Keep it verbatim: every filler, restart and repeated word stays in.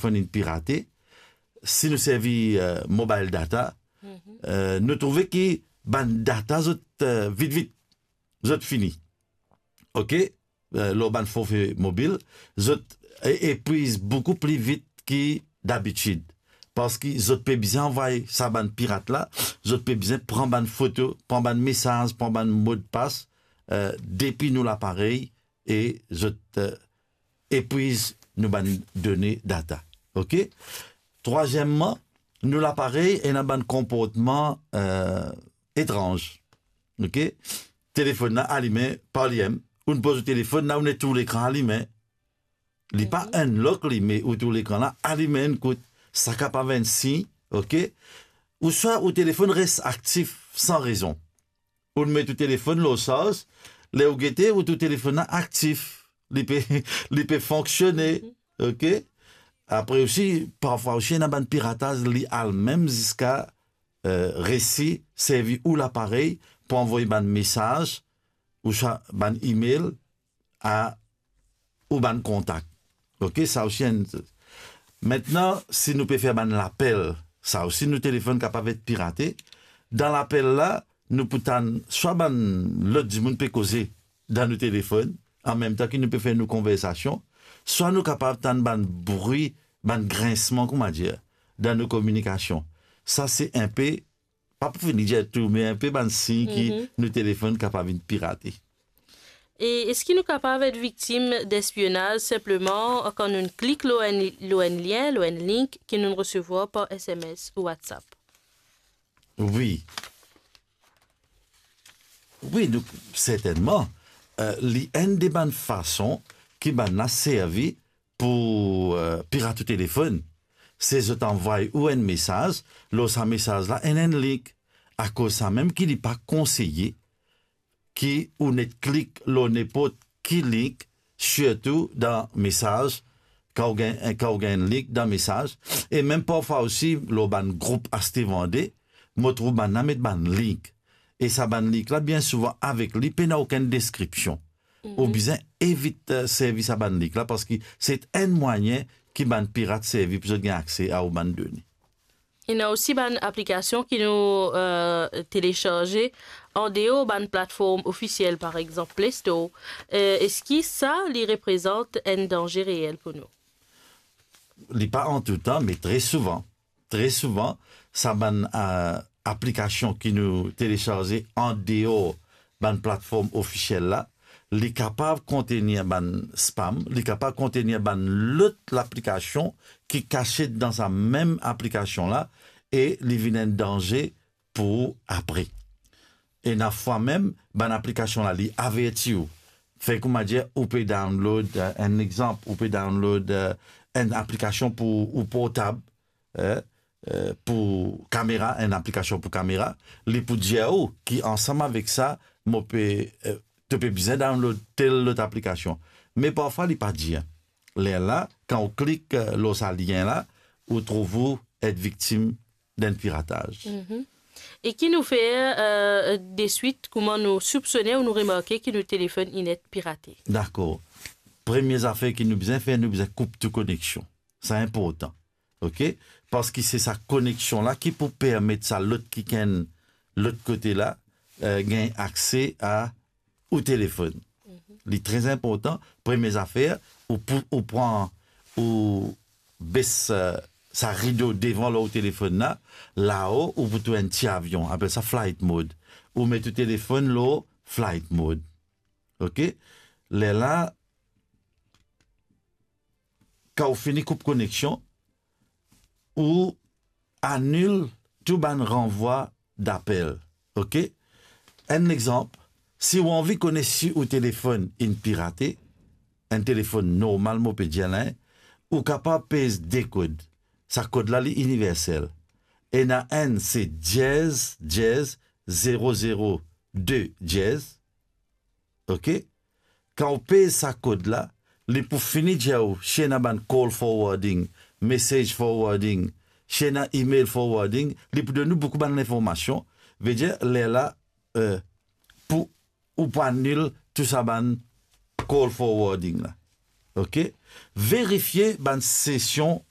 telefonn inn pirate, si nou servi, eh, mobile data, eh, nou trouve ki bann data zot, eh, vit vit, zot fini. Ok? Eh, lor bann forfe mobil, zot e-, epwiz boukou pli vit ki dabitid. Parski zot pe bizin anvway sa bann pirat la, zot pe bizin pran bann foto, pran bann mesaz, pran bann modpas, eh, depi nou laparey, e zot, eh, epwiz nou bann done data. Ok? Trwazieman, nou laparey ena bann konportman, eh, etranz. Ok? Telefonn la alime par limem. Ou'nn poz ou telefonn la, ou met tou lekran alime. Li pa unlock li, me ou tou lekran la alime enn kout. Sa kapav enn sign, ok? Ouswa ou telefonn res aktif san rezon. Ou'nn met ou telefonn lor sarz, ler ou gete, ou tou telefonn la aktif. Li pe, li pe fonksione, ok? Apre osi, parfwa osi, ena bann pirataz, li al mem ziska, eh, resi servi ou laparey pou anvoy bann mesaz, ouswa bann email a ou bann kontak. Ok, sa osi enn. Mintnan, si nou pe fer bann lapel, sa osi nou telefonn kapav et pirate. Dan lapel la, nou pou tann swa bann lot dimoun pe koze dan nou telefonn, anmemtan ki nou pe fer nou konversasion, swa nou kapav tann bann bri, bann grinsman, kouma dir, dan nou kominikasion. Sa se enpe, pa pou fini dir tou, me enpe bann sign ki nou telefonn kapav vinn pirate. E eski nou kapav et viktim despionaz sinpleman kan nou klik lor enn, lor enn lien, lor enn link ki nou resevwar par S M S ou WhatsApp? Wi. Wi, nou, sertennman, eh, li enn de bann fason ki bann la servi pou, eh, pirat ou telefonn. Se zot anvway ou enn mesaz, lor sa mesaz la ena enn link. Akoz samem ki li pa konseye ki ou net klik lor ninport ki link, sirtou dan mesaz, kan ou gagn, kan ou gagn link dan mesaz, e mem parfwa osi lor bann group aste-vande, mo trouv bann la met bann link. E sa bann link la, bien souvan avek li, pena okenn deskripsion. Ou bizin evit, eh, servi sa bann link la, parski se enn mwayin ki bann pirat servi pou zot gagn akse a ou bann done. Ena osi bann aplikasion ki nou, eh, telesarze andeor bann platform ofisiel, par exanp Play Store. Eh, eski sa li reprezant enn danze reel pou nou? Li pa an toutan, me tre souvan. Tre souvan, sa bann, eh, aplikasion ki nou telesarze andeor bann platform ofisiel la, li kapav kontenir bann spam, li kapav kontenir bann lot laplikasion ki kasiet dan sa mem aplikasion la, e li vinn enn danze pou ou apre. Ena fwa mem, bann aplikasion la, li averti ou. Fer kouma dir, ou pe download, eh, enn exanp, ou pe download, eh, enn aplikasion pou ou portab, eh, eh, pou kamera, enn aplikasion pou kamera, li pou dir ou ki ansam avek sa, mo pe, eh, to pe bizin download tel lot aplikasion. Me parfwa li pa dir. Lerla, kan ou klik, eh, lor sa lien la, ou trouv ou et viktim d'enn pirataz. E ki nou fer, eh, deswit, kouma nou soupsone ou nou remarke ki nou telefonn inn et pirate? Dakor. Premie zafer ki nou bizin fer, nou bizin koup tou koneksion. Sa inportan. Ok? Parski se sa koneksion la ki pou permet sa lot kikenn lot kote la, eh, gagn akse a ou telefonn. Li tre inportan. Premie zafer, ou pou, ou pran, ou bes, eh, sa rido devan lor ou telefonn la, lao ou pou trouv enn ti avion, apel sa flight mode. Ou met ou telefonn lor flight mode. Ok? Lerla, kan ou fini koup koneksion, ou anil tou bann ranvwa dapel. Ok? Enn exanp, si ou anvi kone si ou telefonn inn pirate, enn telefonn normal, mo pe dir la, ou kapav pez de kod. Sa kod la, li iniversel. Ena enn, se diez diez zero zero de diez. Ok? Kan ou pez sa kod la, li pou fini dir ou si ena bann call forwarding, message forwarding, si ena email forwarding, li pou donn ou boukou bann linformasion. Vedir, lerla, eh, pou, ou pou anil tou sa bann call forwarding la. Ok? Verifie bann sesion